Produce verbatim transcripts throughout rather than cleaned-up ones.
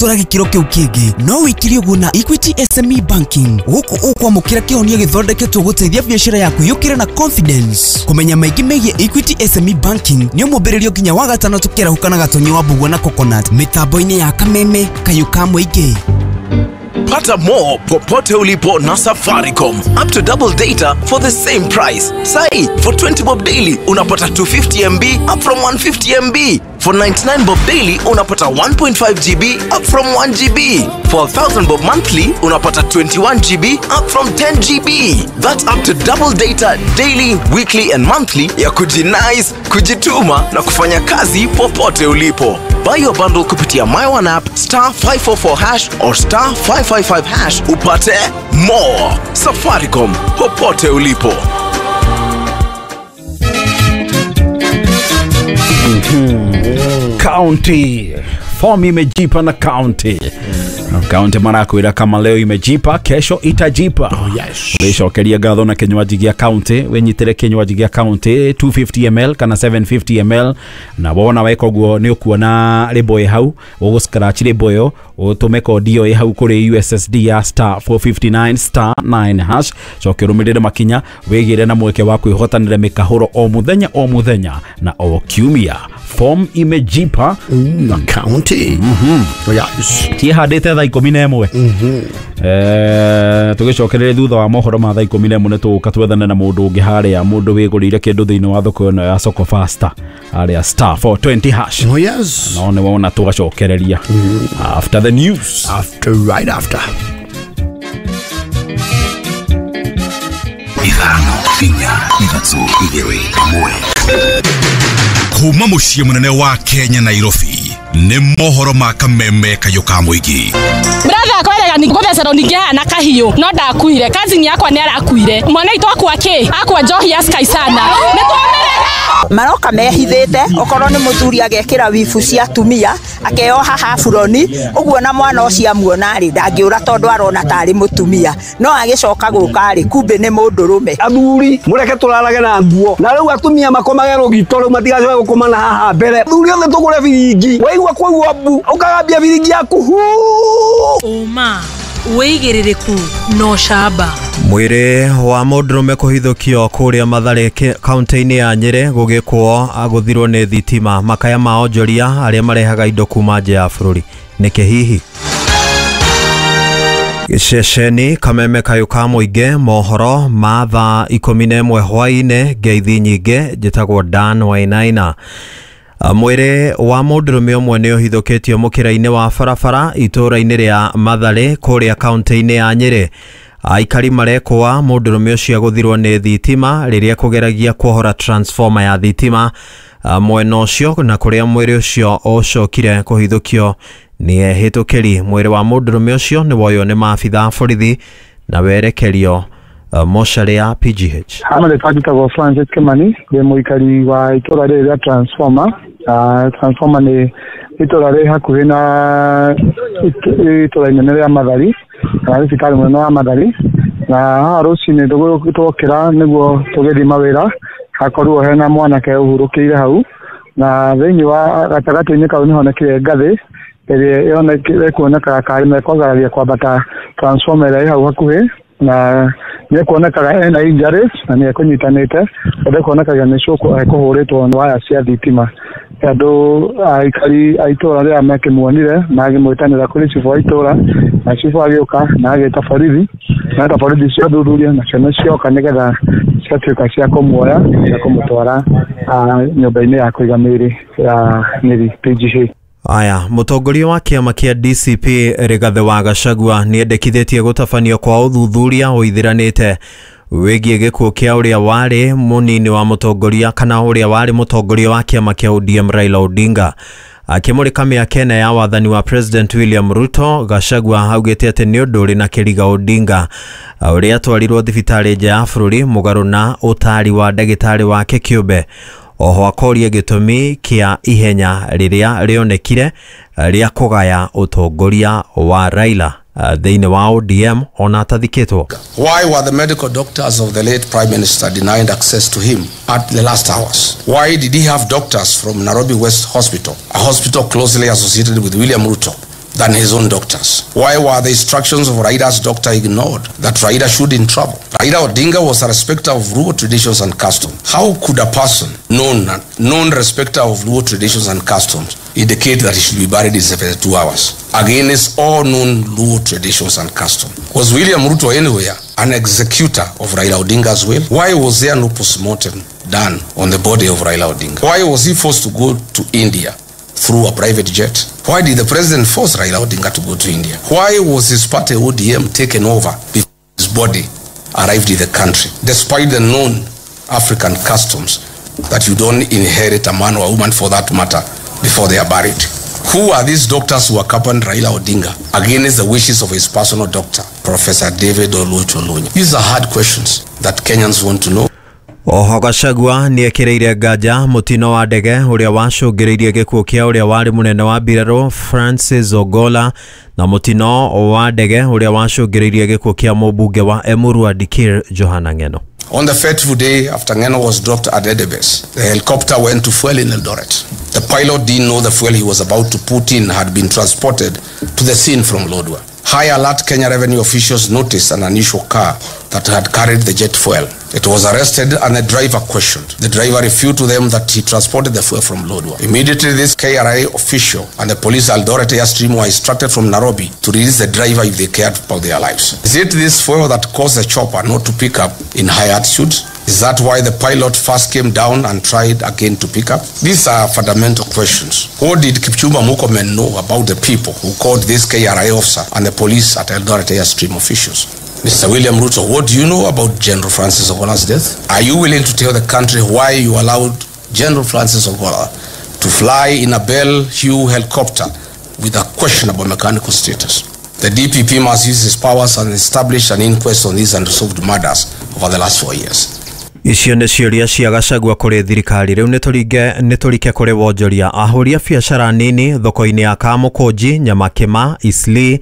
Tora gĩkĩro kĩu kĩngĩ no wĩkire ũguo na Equity S M E Banking. Gũkũ ũkwamũkĩra kĩhonia gĩthondeketwo gũteithia biacara yaku yũkĩre na confidence. Kũmenya maingĩ megiĩ Equity S M E Banking nĩ ũmũmbĩrĩrio nginya wa gatano tũkĩarahũka na Gatonyi wa Mbugua na Coconut mĩtambo-inĩ ya Kameme Kayũ ka Mũingĩ. Pata more popote ulipo na Safaricom. Up to double data for the same price. Sai, for twenty bob daily unapata two fifty M B up from one fifty M B. For ninety-nine bob daily unapata one point five G B up from one G B. For a thousand bob monthly unapata twenty-one G B up from ten G B. That's up to double data daily, weekly and monthly ya kujinice, kujituma na kufanya kazi popote ulipo. Buy your bundle kupitia My One app star five four four hash or star five five five hash upate more. Safaricom, popote ulipo. Mm-hmm. County form imejipa na county. Mm. County marakwira kama leo imejipa, kesho itajipa. Oh yes. Wicokeria ngatho na kinywaji gia county, winyitire kinywaji gia county two fifty ml kana seven fifty ml na wona weka uguo ni ukuona rĩmbo ĩ hau, ũgũ scratch rĩmbo ĩyo, ũtũme kodi ĩyo ĩ hau kũrĩ U S S D ya star four fifty-nine star nine hash, coke ũrũmĩrĩre makinya wĩgĩre na mweke wa kwĩhotanĩra mĩkahũro o mũthenya o mũthenya na o kiumia. Form imejipa na county. Mhm. Oh yes. Tihandĩte thaa ikũmi na ĩmwe. Mhm. Eh tũgĩcokerere thutha wa mohoro ma thaa ikũmi na ĩmwe nĩtũgũka twethane na mũndũ ũngĩ harĩa, mũndũ wĩgũrĩire kĩndũ thĩinĩ wa thoko ĩno ya Soko Fasta harĩa star four twenty hash. Oh yes. No nĩ wona tũgacokereria. Mm. After the news. After right after. Ithano inya ithatũ igĩrĩ ĩmwe. Kuma mũciĩ mũnene wa Kenya Nairobi nĩ mohoro ma Kameme Kayũ ka Mũingĩ. Brother akwerega ni ngũthecerwo ningĩ na kahiũ no ndakuire cousin yakwa nĩ arakuire mwana itũ akwa kĩ akwa njohi ya Sky sana nĩ twamerera maroka mehithĩte okorwo nĩ mũthuri agekĩra wibu cia atumia akeoha haburoni ũguo na mwana ũcio amuona rĩ ndangĩũra tondũ arona tarĩ mũtumia no agĩcoka gũka rĩ kumbe nĩ mũndũrũme. Athuri mũreke tũrarage na nguo na rĩu atumia makomage rũgito rĩu matigacoke gũkoma na haha mbere. Athuri othe tũgũre biringi waigua kwaigua mbu ũkagambia biringi yaku hu ũma wĩigĩrĩrĩku no camba. Mwĩrĩ wa mũndũrũme kũhithũkio kũrĩa Mathare kaunti-inĩ ya Nyĩrĩ gũgĩkwo agũthirwo nĩ thitima. Makaya ma onjoria arĩa marehaga indo kuma nja ya bũrũri nĩkĩ hihi? Gĩceceni Kameme Kayũ ka Mũingĩ, mohoro ma thaa ikũmi na ĩmwe hwaĩ-inĩ. Ngeithi nyingĩ, njĩtagwo Dan Wainaina. Mwĩrĩ wa mũndũrũme ũmwe nĩ ũhithũkĩtio mũkĩra-inĩ wa barabara itũũra-inĩ rĩa Mathare kũrĩa kaunti-inĩ ya Nyĩrĩ. Aikari marekũa mũndũrũme ũcio agũthirwo nĩ thitima rĩrĩa kũgeragia kuohora transformer ya thitima mwena ũcio na kũrĩa mwĩrĩ ũcio ũcokire kũhithũkio nĩ ehĩtũkĩri. Mwĩrĩ wa mũndũrũme ũcio nĩ woywo nĩ maabitha a borithi na werekerio mocarĩ ya P G H. Hano rĩtwa Francis Kimani, ndĩ mũikari wa itũũra rĩrĩ rĩa Transformer. Uh, Transformer nĩ itũũra rĩ hakuhĩ na itũũra inene rĩa Mathari kana thibitarĩ mũnene wa Mathari, na haha rũcinĩ twokĩra nĩguo tũgĩthiĩ mawĩra hakorwo hena mwanake ũhurũkĩire hau, na thĩinĩ wa gatagatĩ-inĩ kau nĩhonekire ngathĩ ĩrĩa ĩkuonekaga karĩ mekwagararia kwambata transformer ĩrĩa ĩ hau hakuhĩ, na nĩekuonekaga ena injuries na nĩekũnyitanĩte tondũ ekuonekaga nĩ cũkũ ekũhũrĩtwo nĩ waya cia thitima. Andũ aikari a itũũra rĩrĩa makĩmuonire magĩmwĩtanĩra kũrĩ cibũ wa itũũra, na cibũ agĩũka na agĩta borithi na eta borithi ciathuthuria nacio nĩcioka nĩgetha ciatuĩka cia kũmuoya cia kũmũtwara nyũmba-inĩ ya kũiga mĩĩrĩ ya Nyeri P G H. Aya, mũtongoria wa kĩama kĩa D C P Rigathĩ wa Gachagua nĩendekithĩtie gũtabanio kwa ũthuthuria ũithiranĩte wĩgiĩ gĩkuũ kĩa ũrĩa warĩ mũnini wa mũtongoria kana ũrĩa warĩ mũtongoria wa kĩama kĩa O D M Raila Odinga. Akĩmũrĩka mĩaka ĩna ya wathani wa President William Ruto, Gachagua augĩte atĩ nĩ ũndũ ũrĩ na kĩriga Odinga ũrĩa atwarirwo thibitarĩ nja ya bũrũri mũgarũ na ũtaari wa ndagĩtarĩ wake kĩũmbe. Oho akoria gĩtũmi kĩa ihenya rĩrĩa rĩonekire rĩa kũgaya ũtongoria wa Raila thĩinĩ wa O D M ona atathikĩtwo. Why were the medical doctors of the late Prime Minister denied access to him at the last hours? Why did he have doctors from Nairobi West Hospital, a hospital closely associated with William Ruto, than his own doctors? Why were the instructions of Raila's doctor ignored that Raila shouldn't travel? Raila Odinga was a respecter of Luo traditions and customs. How could a person known, known respecter of Luo traditions and customs indicate that he should be buried in seventy-two hours against all known Luo traditions and customs? Was William Ruto anywhere an executor of Raila Odinga's will? Why was there no postmortem done on the body of Raila Odinga? Why was he forced to go to India through a private jet? Why did the president force Raila Odinga to go to India? Why was his party O D M taken over before his body arrived in the country, despite the known African customs that you don't inherit a man or a woman for that matter before they are buried? Who are these doctors who accompanied Raila Odinga against the wishes of his personal doctor, Professor David Oluoch Olunya? These are hard questions that Kenyans want to know. Oho Gachagua nĩekĩrĩire nganja mũtino wa ndege ũrĩa wacũngĩrĩirie gĩkuũ kĩa ũrĩa warĩ mũnene wa mbirarũ Francis Ogolla na mũtino wa ndege ũrĩa wacũngĩrĩirie gĩkuũ kĩa mũmbunge wa Emurua Dikirr Johana Ng'eno. On the fateful day after Ng'eno was dropped at Endebess, the helicopter went to fuel in Eldoret. The pilot didn't know the fuel he was about to put in had been transported to the scene from Lodwar. High alert Kenya revenue officials noticed an unusual car that had carried the jet fuel. It was arrested and the driver questioned. The driver refuted to them that he transported the fuel from Lodwar. Immediately, this K R A official and the police Eldoret Airstream were instructed from Nairobi to release the driver if they cared about their lives. Is it this fuel that caused the chopper not to pick up in high altitude? Is that why the pilot first came down and tried again to pick up? These are fundamental questions. What did Kipchumba Murkomen know about the people who called this K R A officer and the police at Eldoret Airstream officials? Mister William Ruto, what do you know about General Francis Ogolla's death? Are you willing to tell the country why you allowed General Francis Ogolla to fly in a Bell Hugh helicopter with a questionable mechanical status? The D P P must use his powers and establish an inquest on these unresolved murders over the last four years. Icio nĩ ciũria cia Gachagua kũrĩ thirikari. Rĩu nĩtũringe nĩtũrike kũrĩ wonjoria. Ahũri a biacara nini thoko-inĩ ya Kamũkũnji, Nyamakĩma, Eastleigh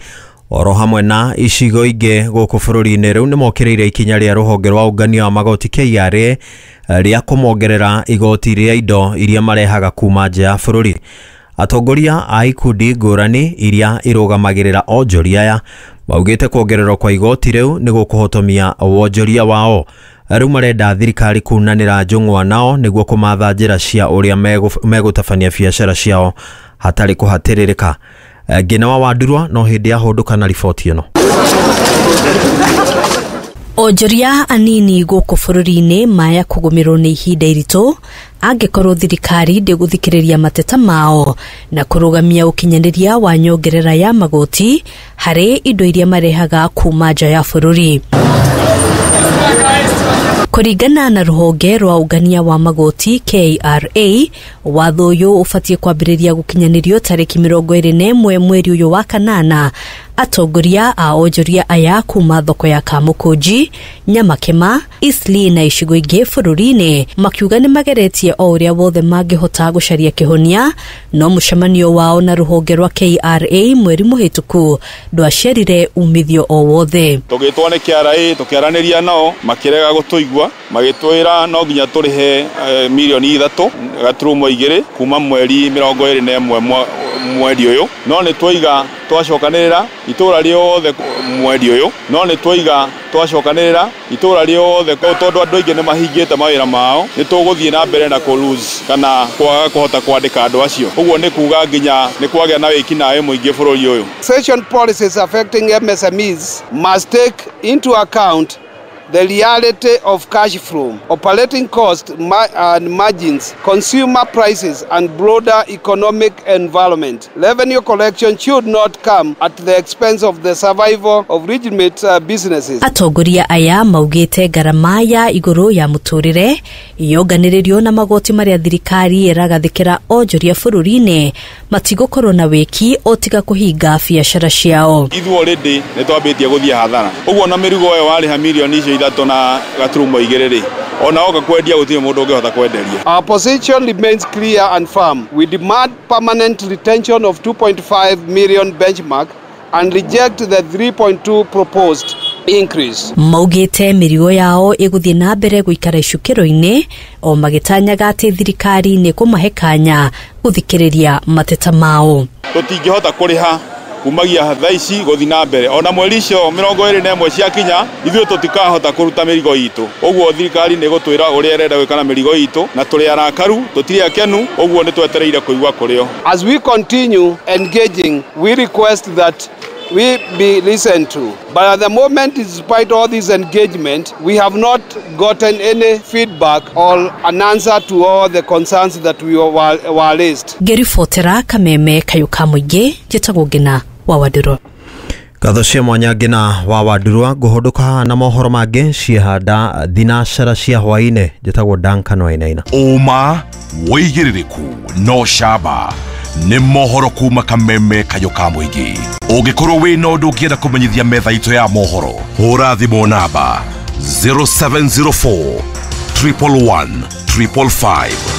oro hamwe na icigo ingĩ gũkũ bũrũri-inĩ rĩu nĩmokĩrĩire ikinya rĩa rũhonge rwa ũngania wa magoti K R A rĩa kũmongerera igoti rĩa indo iria marehaga kuma nja ya bũrũri. Atongoria a ikundi ngũrani iria irũgamagĩrĩra onjoria aya maugĩte kuongererwo kwa igoti rĩu nĩ gũkũhotomia wonjoria wao. Rĩu marenda thirikari kunanĩra njũng'wa nao nĩguo kũmatha njĩra cia ũrĩa megũtabania biacara ciao hatarĩ kũhatĩrĩrĩka. Ngina wa Wandurwa no hĩndĩ yahũndũka na riboti ĩno. Onjoria anini gũkũ bũrũri-inĩ maya kũgũmĩrwo nĩ ihinda iritũ angĩkorwo thirikari ndĩgũthikĩrĩria mateta mao na kũrũgamia ũkinyanĩria wa nyongerera ya magoti harĩ indo iria marehaga kuma nja ya bũrũri. Kũringana na rũhonge rwa ũngania wa magoti K R A, watho ũyũ ũbatiĩ kwambĩrĩria gũkinyanĩrio tarĩki mĩrongo ĩrĩ na ĩmwe mweri ũyũ wa kanana. Atongoria a onjoria aya kuma thoko ya Kamũkũnji, Nyamakĩma, Eastleigh na icigo ingĩ bũrũri-inĩ makiuga nĩ mageretie o ũrĩa wothe mangĩhota gũcaria kĩhonia, no mũcemanio wao na rũhonge rwa K R A mweri mũhĩtũku ndwaciarire umithio o wothe. Tũgĩtwo nĩ K R A tũkĩaranĩria nao makĩrega gũtũigua, magĩtwĩra no nginya tũrĩhe mirioni ithatũ gaturumo igĩrĩ kuma mweri mĩrongo ĩrĩ na ĩmwe mweri ũyũ, no nĩ twaiga twacokanĩrĩra itũra rĩothe mweri ũyũ, no nĩ twaiga twacokanĩrĩra itũra rĩothe tondũ andũ aingĩ nĩ mahingĩte mawĩra mao, nĩ tũgũthiĩ na mbere na kũ lose kana kwaga kũhota kwandĩka andũ acio. Ũguo nĩ kuga nginya nĩ kwagĩa na wĩkinaĩ mũingĩ bũrũri ũyũ. Taxation policies affecting M S M Es must take into account the reality of cash flow, operating costs and margins, consumer prices, and broader economic environment. Revenue collection should not come at the expense of the survival of legitimate uh, businesses. Atongoria aya maugĩte ngarama ya igũrũ ya mũtũrĩre yonganĩrĩrio na magoti marĩa thirikari ĩragathĩkĩra onjoria bũrũri-inĩ matigũkorwo na wĩki o tiga kũhinga biacara ciao. Ithuĩ already nĩ twambĩtie gũthiĩ hathara, ũguo na mĩrigo ĩyo warĩha mirioni icio ithatũ na gaturumo igĩrĩ rĩ, ona oka kwendia gũtirĩ mũndũ ũngĩhota kwenderia. Our position remains clear and firm. We demand permanent retention of two point five million benchmark and reject the three point two proposed increase. Maugĩte mĩrigo yao ĩgũthiĩ na mbere gũikara icukĩro-inĩ o magĩtanyaga atĩ thirikari nĩ kũmahe kanya gũthikĩrĩria mateta mao. Tũtingĩhota kũrĩha Kumagia thaa ici gũthiĩ na mbere ona mweri icio mĩrongo ĩrĩ na ĩmwe ciakinya ithuĩ tũtikahota kũruta mĩrigo itũ. Ũguo thirikari nĩ ĩgũtwĩra ũrĩa ĩrenda gwĩka na mĩrigo itũ, na tũrĩ arakaru, tũtirĩ akenu, ũguo nĩ twetereire kũigua kũrĩ o. As we continue engaging, we request that we be listened to. But at the moment, despite all this engagement, we have not gotten any feedback or an answer to all the concerns that we were, were raised. Ngĩribotera Kameme Kayũ ka Mũingĩ, njĩtagwo Ngina wa Wandũrũ. Ngatho cia mwanya Ngina wa Wandũrũ. Ngũhũndũka na mohoro mangĩ ciehanda thinacara cia hwaĩ-inĩ. Njĩtagwo Duncan Wainaina. Ũma wĩigĩrĩrĩku no camba nĩ mohoro kuma Kameme Kayũ ka Mũingĩ. Ũngĩkorwo wĩna ũndũ ũngĩenda kũmenyithia metha itũ ya mohoro, hũra thimũ namba zero seven zero four triple one triple five.